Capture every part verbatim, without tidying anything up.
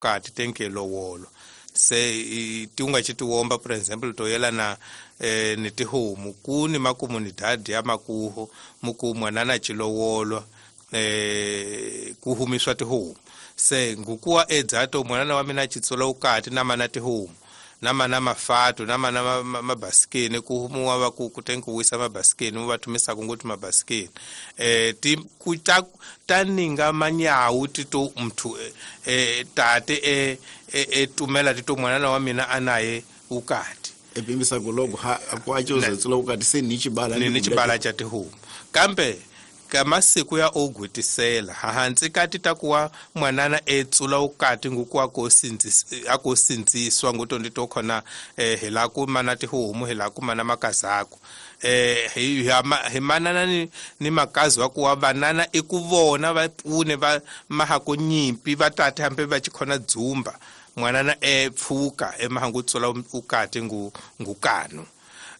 Kati tenke lowolo se ti unga chitiwomba, for example, to yelana eh ni tihomu ku ni makomunidade ya makuho muku mwanana chilowolo eh ku humiswa tihomu se ngukuwa edzato mwanana wa mina chitsola ukati na mana tihomu na mana mafato na mana mabasikeni ku humuwa va ku kutenkuwisa mabasikeni va thumisa kunguti mabasikeni eh ti ku ta taninga manyawu tito mthu eh tate eh e tumela tito mwanana wa mina anaye ukati epimbisa kulogo ha akwacho tsula ukati se ni chibala ni chibala cha tihomu kambe kamasiku ya ogwitisela hahantsi kati takuwa mwanana etsula ukati ngukuwa ko sinziswa nguto ndito khona eh hela ku mana tihomu hela ku mana makazako eh hi manana ni, ni makazi wa kuwa vanana ikuvona va pfune va mahako nyimpi va tate hambe va chikhona dzumba mwanana epfuka emahangu tsula ukati ngu ngukano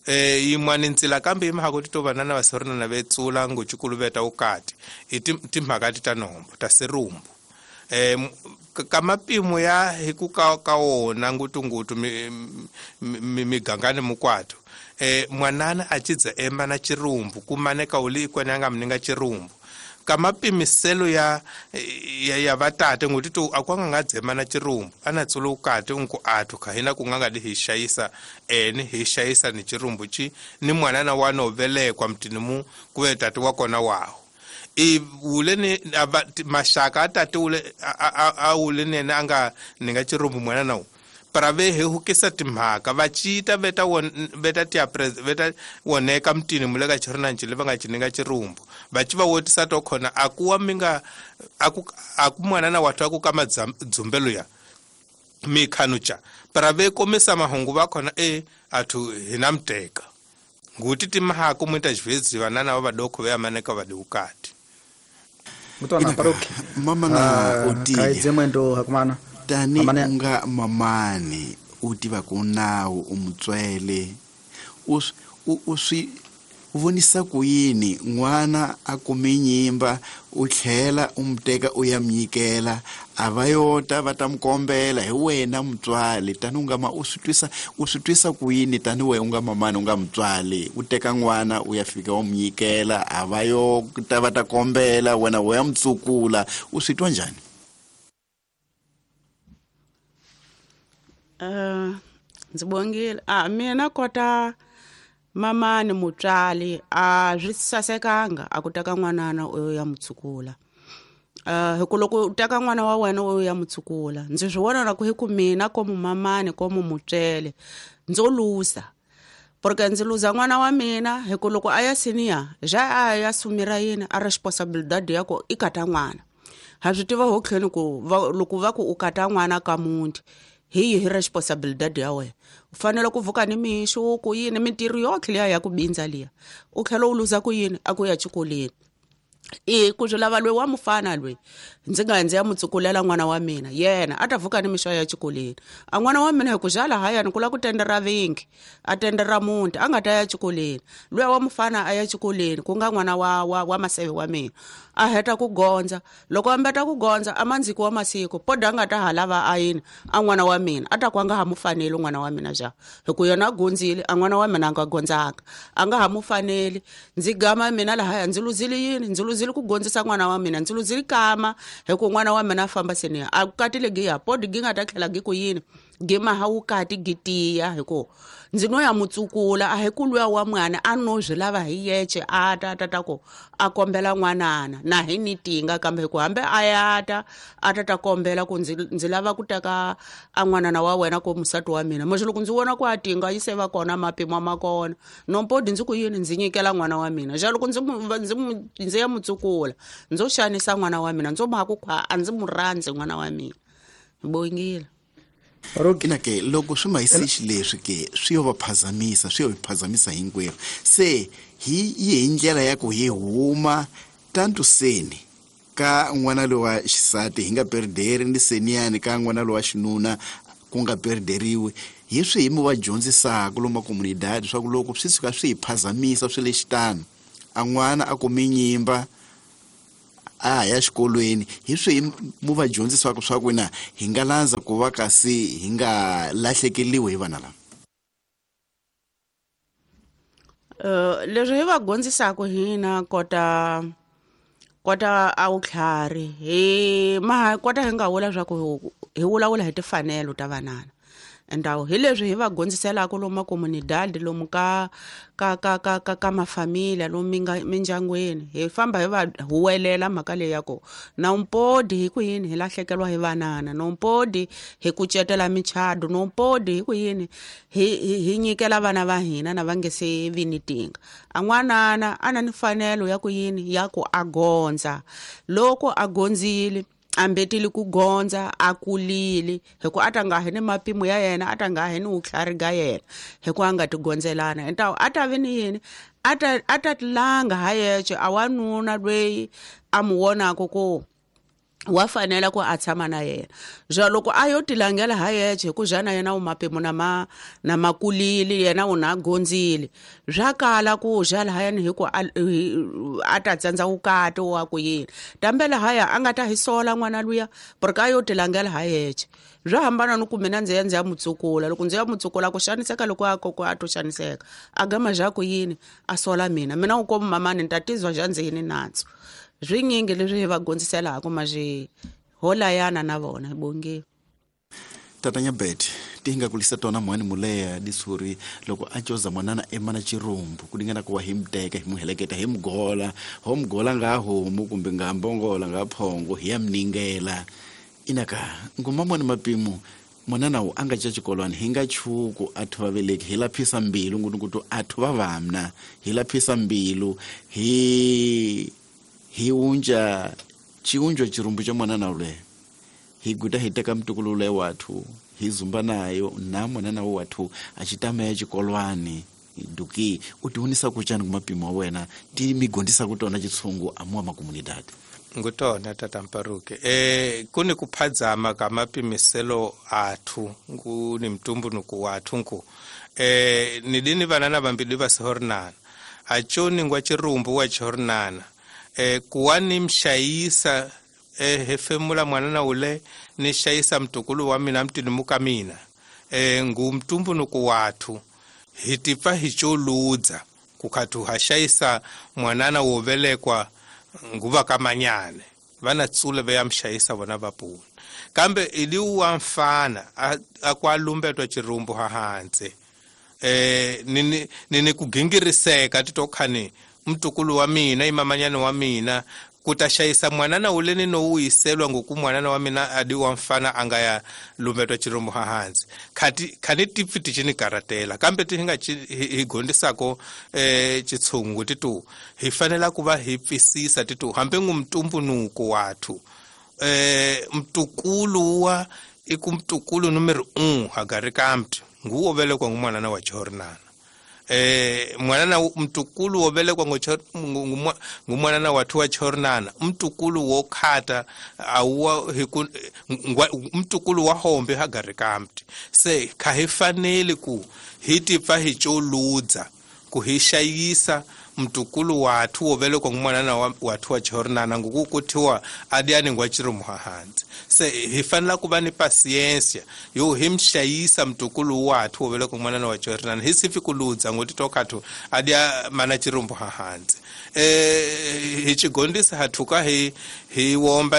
eh yimwana ntsila kambe imhaka ti to vanana va sorina na vetsula nguchikuluveta ukati i timhaka ti ta nombo ta serumbu eh ka mapimo ya hi ku ka ka wona ngutungutu migangani mukwato eh mwanana a chidza ema na chirumbu kumaneka uli ikwana nga mninga chirumbu ka mapimiselo ya ya, ya vatate nguti to akwanga nga dzema na chirumbu ana tsula ukati unku athu kha hina ku nga di hi xayisa ene hi xayisa ni chirumbu chi ni mwanana wa no velekwa mtini mu kuve tati wa kona waho i ule ni mashaka atate ule a ule nene anga ninga chirumbu mwanana u para ve he hukisa timhaka va chita veta won veta tia pres veta woneka mtini muleka chirina nchile va nga chininga chirumbu va chi va wotisa to khona akuwa minga aku aku mwanana wathu aku ka dzumbelo ya mikhanucha para ve komisa mahungu va khona e athu hina mteka nguti timhaka muita xivezi vanana va vadokho va yamaneka va diukati mutwana paroki mama na utile kaidze mwendo hakumana tani unga mamani u tiva ku nawu u mutswele u u swi vonisa ku yini n'wana a kume nyimba u tlhela u muteka u ya mnyikela a va yota va ta mukombela hi wena mutswali tani u nga ma u swi twisa u swi twisa ku yini tani we u nga mamani u nga mutswali u teka n'wana u ya fika wa munyikela a va yo ta va ta kombela wena u ya mutsukula u swi twa njhani? Uh, ndzi bongile a mina kota mamani mutswali a swi sasekanga a ku teka n'wanana u ya mutsukula uh, hi ku loko u teka n'wana wa wena u ya mutsukula ndzi swi vona na ku hi ku mina komu mamani komu mutswele ndzo luza porque ndzi luza n'wana wa mina hi ku loko a ya senior ja a ya sumira yini a responsibilidade ya ku i kata n'wana ha swi tiva ho tlheni ku loko va ku u kata n'wana ka muti hi hi responsibilidade ya wena u fanele ku vuka ni mixo ku yini mintirho yotlhe liya ya ku bindza liya u tlhela u luza ku yini a ku ya xikolweni i ku swi lava loyi wa mufana loyi ndzi nga ndzi ya mutsukulela n'wana wa mina yena a ta vuka ni mixo ya xikolweni a n'wana wa mina hi ku xa lahayani ku lava ku tendera vingi a tendera muti a nga ta ya xikolweni luya wa mufana a ya xikolweni ku nga n'wana wa wa wa maseve wa mina a heta ku gondza loko a mbeta ku gondza a mandziki wa masiku poda a nga ta ha lava a yini a n'wana wa mina a ta ku a nga ha mu faneli n'wana wa mina ja hi ku yena a gondzile a n'wana wa mina a nga gondzanga a nga ha mu faneli ndzi gama mina lahaya ndzi luzile yini ndzi luzile ku gondzisa n'wana wa mina ndzi luzile kama hi ku n'wana wa mina a famba seniya a katile giya podi gi nga ta tlhela gi ku yini gi maha wukati gi tiya hi ku ndzi no ya mutsukula a hi ku luya wa mwana a no swi lava hi yece a ta ta ta ku a kombela n'wanana na hi ni tinga kambe hi ku hambi a ya ta a ta ta kombela ku ndzi ndzi lava ku teka a n'wanana wa wena ku musati wa mina mos loko ndzi vona ku a tinga yi se va kona mapimo ma kona nompodi ndzi ku yini ndzi nyikela n'wana wa mina ja loko ndzi ndzi ndzi ya mutsukula ndzo xanisa n'wana wa mina ndzo mhaka ku a ndzi mu rhandzi n'wana wa mina bongile. Ina ke loko swi mayisixi leswi ke swi yo va phazamisa swi yo hi phazamisa hinkwerhu se hi yi hi ndlela ya ku hi huma tantu seni ka n'wana lowa xisati hi nga perderi ni seniyani ka n'wana lowa xinuna ku nga perderiwi hi swi hi mi va dyondzisaka lomu makomunidadi swa ku loko swi suka swi hi phazamisa swi le xitano a n'wana a kume nyimba a ya xikolweni hi swi mu va dyondzisiwaka swa ku na hi nga landza ku va kasi hi nga lahlekeliwi hi vana lava. Uh, leswi hi va dyondzisaka hina kota kota a wutlhari hi ma kota hi nga vula swa ku hi vulavula hi timfanelo ta vanana endawo hi leswi hi va dyondziselaka lomu comunidade lomu ka ka ka ka ka ka mafamilia lomu mindyangwini hi famba hi va huwelela mhaka leyi ya ku na umpodi hi ku yini hi lahlekeriwa hi vanana na umpodi hi kucetela michado na umpodi hi ku yini hi hi nyikela vana va hina na va nge se vi ni tinga a n'wanana a na ni mfanelo ya ku yini ya ku a gondza loko a gondzile ambetile ku gondza a kulile hi ku a ta nga hi ni mapimo ya yena a ta nga hi ni wutlhari ga yena hi ku a nga ti gondzelana entawo a ta vi ni yini a ta a ta tilanga ha yexe a wanuna lweyi a mu vonaka ku wa fanela ku a tshama na yena ja loko a yo tilangela ha yexe hi ku jana yena u mapimo na ma na makulile yena u na gondzile swa kala ku ja lahayani hi ku a ta tsandza wukati wa ku yini tambe lahaya a nga ta hi sola n'wana luya porque a yo tilangela ha yexe swa hambana ni ku mina ndzi ya ndzi ya mutsukula loko ndzi ya mutsukula ku xaniseka loko a koko a to xaniseka a gama ja ku yini a sola mina mina u komu mamani ni ta tizwa ja ndzi yini natso swinyingi leswi hi va gondziselaka maje holayana na vona bonge. Tata Nyabet ti nga kulisa tona mwani muleya disuri loko a coza mwanana emana chirumbu kulingana kuwa hi mteka hi muheleketa hi mgola ho mgola nga homu kumbe nga mbongola nga phongo hi ya mningela inaka ngoma mwana mapimo mwanana wu anga cha xikolwani hi nga chuku athu va veleki hi laphisa mbilu ngutu athu va vamna hi laphisa mbilu hi hi unja chiunjwa chirumbu cha mwanana ule hi guta hi teka mtukulu ule wathu hi zumba nayo na mwanana wathu achitama ya chikolwani duki utiunisa kuchani kumapimo wena ti migondisa kutona chitsungu amwa makomunidade ngutona tata Mparuke eh kuni kuphadzama ka mapimiselo athu nguni mtumbunuku wathu nku eh nidini vanana vambili va sihornana achoni ngwa chirumbu wa chihornana eh kuwani mshayisa eh hefemula mwanana ule ni shayisa mtukulu wa mina mtinimuka mina eh ngumtumbunuku wathu hitipa hicholudza kukathu hashayisa mwanana wovelekwa nguva kamanyane vana tsule ve yamshayisa vona vapuna kambe iliwa mfana akwalumbetwa chirumbu hahanze eh nini nini kugingiriseka titokhani mtukulu wa mina imamanyane wa mina kutashayisa mwanana uleni no uyiselwa ngoku mwanana wa mina adi wa mfana anga ya lumbetwa chirumbu hahanzi khati khani tipfi tichini karatela kambe tihinga hi gondisako eh chitsungu titu hi fanela kuva hi pfisisa titu hambe ngumtumbunuko wathu eh mtukulu wa ikumtukulu numero uno hagari kamti nguwo velekwa ngumwanana wa chornana eh mwanana mtukulu wovelekwa ngumwanana wathu wa chornana mtukulu wokhata awuwa mtukulu wa hombe hagari kamti se khahifaneli ku hitipfa hicholudza ku hishayisa mtukulu wathu wovelekwa ngumwanana wathu wa chornana ngukukuthiwa adiani ngwa chirumuhahanzi se hifanela kuva ni pasiensia yo himshayisa mtukulu wathu wovelekwa ngumwanana wa chornana hisifi kuludza ngoti tokhathu adia mana chirumuhahanzi eh hichigondisa hathuka hi hi womba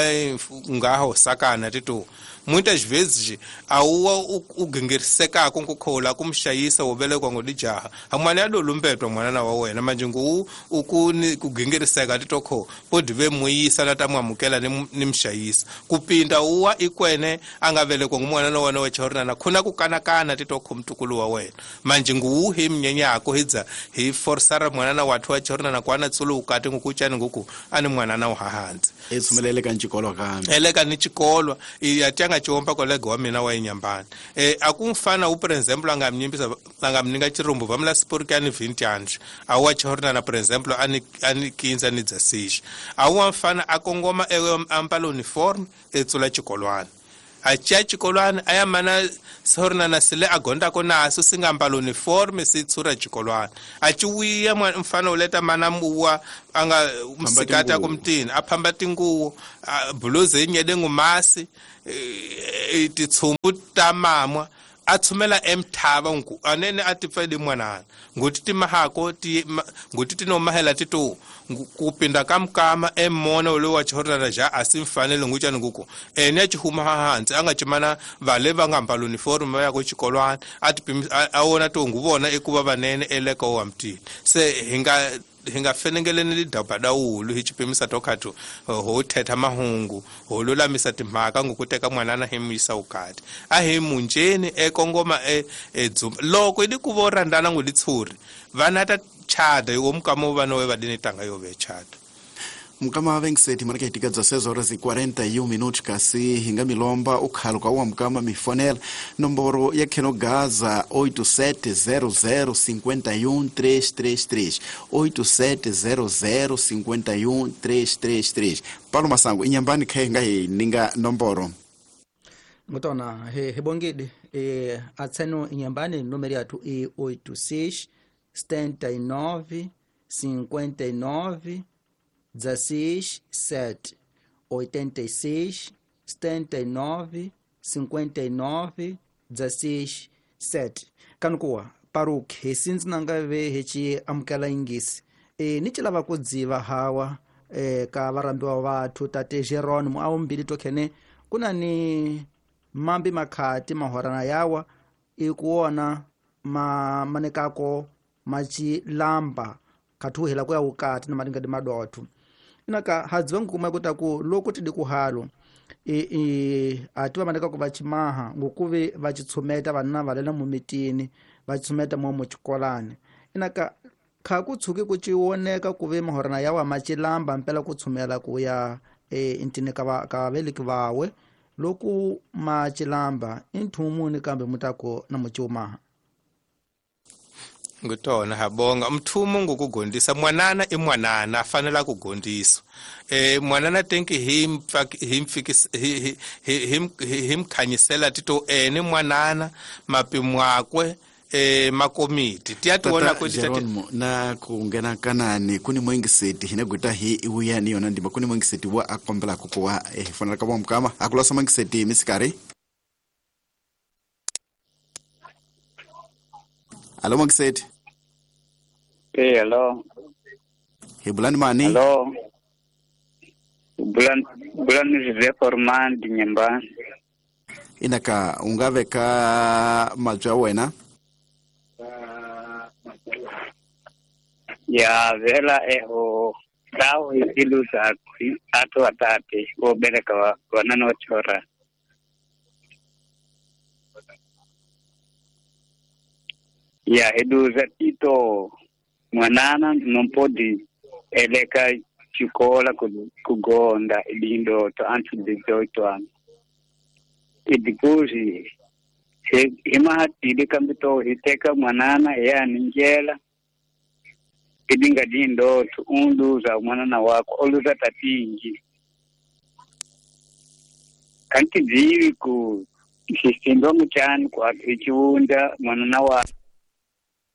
ngaho sakana titu muitas vezes awuwa ugingirisekako nkukhola kumshayisa wovelekwa ngodijaha hamwana adolumbetwa mwanana wa wena manje ngu ukuni kugingiriseka titokho podi ve muyisa na tamwamukela ni mshayisa kupinda uwa ikwene angavelekwa ngumwanana wa wena wa chornana khuna kukanakana titokho mtukulu wa wena manje ngu hi mnyenyako hidza hi forsara mwanana wathu wa chornana kwana tsulu ukati ngukuchani nguku ani mwanana uhahanzi etsumelele ka ntshikolo kambe eleka ni tshikolwa iyatanga chiomba kolega wa mina wa inyambani eh akumfana u for example angamnyimbisa angamninga chirumbu vamla sporkani vintage awa chornana for example ani ani kinza ni dzasisha awa mfana akongoma ambala uniform etsula chikolwana A cia xikolwana a ya mana sornana sile a gondako naso si nga mbala uniforme si tshura xikolwana a ci wiya mfana u leta mana muwa a nga msikati a ku mutini a phamba tinguwo buluzi yi nyede ngumasi titshumbu ta mamwa a tshumela emthava ngu anene a ti pfeli mwanana nguti ti mahako ti nguti ti no mahela ti to ku pinda ka mukama emona lowu wa chihorana ja a si mfanele nguchani nguku ene a chi huma hansi a nga chimana vale va nga mbala uniform va ya ku xikolwana a ti a wona to ngu vona ekuva vanene eleka wa mutini se hi nga hi nga fenengeleni lidaba dawulu hi xipimisa to khathu ho thetha mahungu ho lulamisa timhaka ngoku teka mwanana hi muyisa ukati a hi munjeni ekongoma e edzumba loko idi ku vo rhandana ngo litshuri vana ta chada yo mukama vana we vadini tanga yo ve chada mukama vengiseti marika hitika dezesseis horas e quarenta e um minutos kasi hinga milomba ukhalo kwa mukama mifonela nomboro ya Keno Gaza oito sete zero zero cinco um três três três oito sete zero zero cinco um três três três. Paulo Masango inyambani khe nga hi ninga nomboro ngotona he hebongide e atseno inyambani numero yathu e oito seis setenta e nove cinquenta e nove dezesseis sete oitenta e seis setenta e nove cinquenta e nove dezesseis sete. Kanukuwa paruk hesinzi nangave hechi amukela ingisi e ni chilava kudziva hawa e ka varambiwa vathu tate Jeronimo awumbili tokhene kuna ni mambi makhati mahorana yawa ikuona ma manekako machilamba kathuhela kuya ukati na malinga di madothu inaka hadziwa nkuma kuta ku loko tidi kuhalo e e atiwa maneka ku vachimaha ngokuve vachitshumeta vanna valela mumitini vachitshumeta mo muchikolani inaka kha ku tshuki ku chiwoneka kuve mahorana yawa machilamba mpela ku tshumela kuya e intini ka ka veliki vawe loku machilamba inthumuni kambe mutako na muchiumaha ngutona habonga mthumo ngokugondisa mwanana i mwanana afanela kugondiswa eh mwanana tenki him him him him khanyisela tito ene mwanana mapimwakwe eh makomiti tiyationa kuti Jeronimo na kungena kanani kuni mwengiseti hina guta hi iwuya ni yona ndima kuni mwengiseti wa akombela kukuwa eh fanela ka mukama akulosa mwengiseti misikari. Allo Mwengiseti. Eh hello. He bulani mani? Hello. Bulani bulani Jose Forman dinyamba. Inaka ungaveka majwa wena? Ya vela eho tao iluza atu atate o bereka wanano chora. Ya eduza tito mwanana não pode eleka chikola kugonda ilindo to antes de dezoito anos. E depois imahatile kambito iteka mwanana ya ninjela idinga dindo to unduza mwanana wako oluza tatingi kanti zivi ku sistendo muchani kwa ichiunda mwanana wa